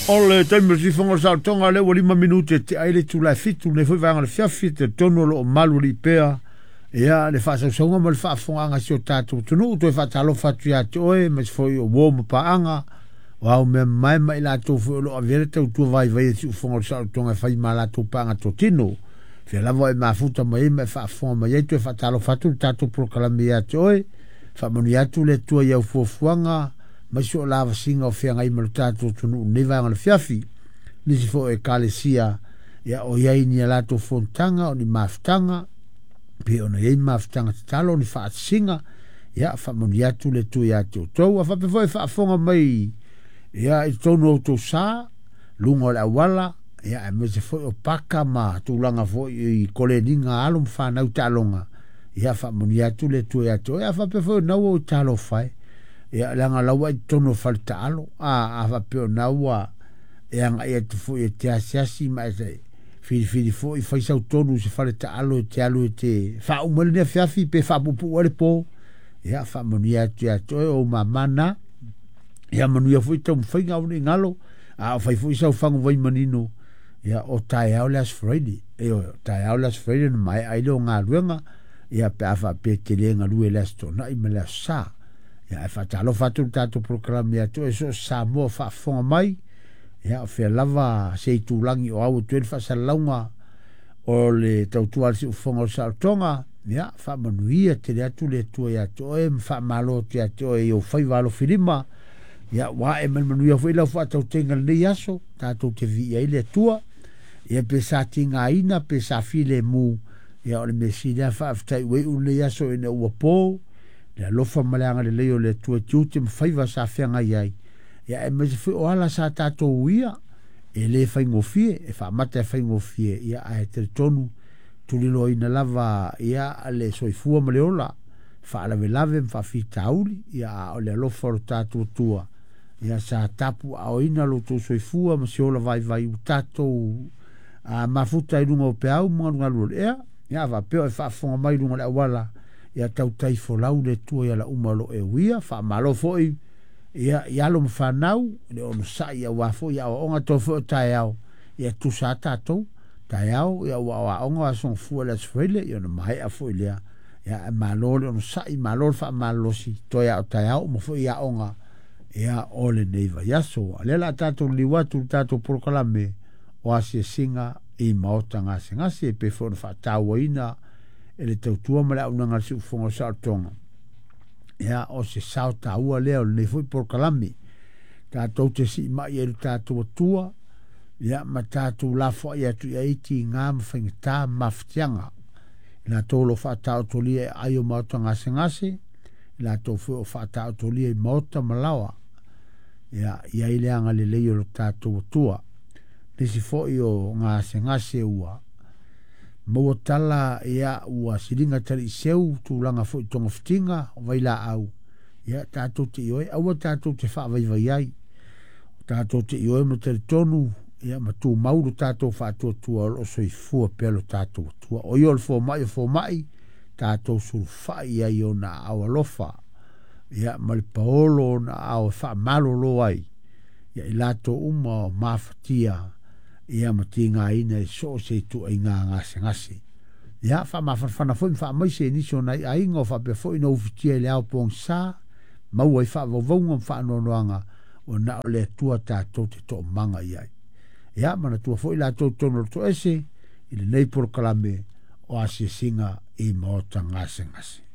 O le taimi o le sifoga o le saolotoga lea ua 5 minute e tea ai le itula e 7 lenei foi vaega o le afiafi, e talitonu o lo o malu alii pea ia le faasausauga ma le faafofogaaga a si o tatou atunuu. Toe faatalofa atu ia te oe aemaise foi o uo ma paaga o au mea mamae ma i latou foi o lo o avea le tautua vaivai a le siufofoga o le saolotoga e fai ma latou paaga totino. Fia lava e mafuta mai ai ma e faafofoga mai ai, toe faatalofa atu le tatou polokalame ia te oe. Faamanuia atu le Atua i au fuafuaga mai so o lavasiga o feagai ma le tatou atunuu i lenei vaega o le afiafi. Nisi foi o ekalesia ia o i ai ni a latou fonotaga o ni mafutaga, pei ona i ai mafutaga tatalo, o ni faasisiga, ia faamanuia atu le Atua ia te outou. A faapea foi e faafofoga mai ia i totonu o outou sa, luga o le auala, ia aemaise foi o paka ma tulaga foi i koleniga alo ma fanau taaloga, ia faamanuia atu le Atua ia te oe. A faapea foi o naua ua talofa e, ia leaga laua i totonu o fale taalo, a faapea o naua e agai atu foi e te asiasi ma e filifili foi fai sau tonu i se fale taalo e te alu e te faauma ai lenei afiafi pe faapuupuu ai le po, ia faamanuia atu ia te oe o ou mama na. Ia manuia foi taumafaiga aua ne i galo, a o fai foi sau faguvai manino, ia o taeao le Aso Faraile, ioe, o taeao le Aso Faraile na maea ai lea o galuega, ia pe a faapea e te le galue i le Aso Toonai ma le Aso Sa. Ia ae faatalofa atu le tatou polokalame ia te oe so o se Samoa o faafofoga mai, ia o fea lava se itulagi o au atu ai le faasalalauga o le tautua a le siufofoga o le saolotoga, ia faamanuia tele atu le Atua ia te oe ma faamalo atu ia te oe i ou faiva alofilima, ia ua ae mai le manuia foi lau faatautaiga i lenei aso, tatou te viia ai le Atua, ia pe sa tigaina pe sa filemu, ia o le mea sili lava faafetai ua iu lenei aso ina ua po, le alofa ma le agalelei o le Atua i tiute ma faiva sa feagai ai, ia aemaise foi o ala sa tatou uia, e le faigofie, e faamata e faigofie, ia ae talitonu tuliloaina lava ia le soifua ma le ola, faalavelave ma faafitauli, ia a o le alofa o le tatou Atua, ia sa tapuaaoina lo outou soifua ma se ola vaivai ua tatou mafuta i luga o peau ma galugalu o le ea, ia faapea o e faafofoga mai i luga o le auala, ia tautai folau le Atua i ala uma o lo o e uia, faamalo foi ia i alo ma fanau, le onosai aua foi aoaoga toe foi o taeao, ia tusa a tatou taeao, ia ua aoaoga o aso gafua le Aso Faraile, ia ona maea foi lea, ia malo le onosai, malo le faamalolosi, toe a o taeao uma foi aoga, ia o lenei vaiaso. A lea la tatou liliu atu le tatou polokalame o asiasiga i maota gasegase, pe foi ona faatauaina e le tautua ma le auaunaga a le siufofoga o le saolotoga. Ia o se sao taua lea o lenei foi polokalame, tatou te siimai ai le tatou Atua, ia ma tatou lafoai atu i ai tiga ma faigata ma mafatiaga, i latou o lo o faataotolia e aai o maota gasegase, i latou foi o faataotolia i maota ma laoa, ia i ai le agalelei o le tatou Atua. Nisi foi o gasegase ua maua tala, ia ua siliga taliiseu tulaga foi togafitiga o vailaau, ia tatou te ioe, aua tatou te faavaivai ai, tatou te ioe ma talitonu, ia ma tumau lo tatou faatuatua o lo o soifua pea lo tatou Atua. O ia o le fomai o fomai, tatou sulufai ai i ona aao alofa, ia ma le paolo o ona aao e faamalolo ai, ia i latou uma o mafatia, ia ma tigaina i so o se ituaiga gasegase. Ia faamafanafana foi ma faamaise i nisi o nai aiga o faapea foi na ufitia i le ao pogisa, maua i faavauvauga ma faanoanoaga, ua na o le Atua tatou te toomaga i ai. Ia manatua foi latou totonu o le toese i lenei polokalame o asiasiga i maota gasegase.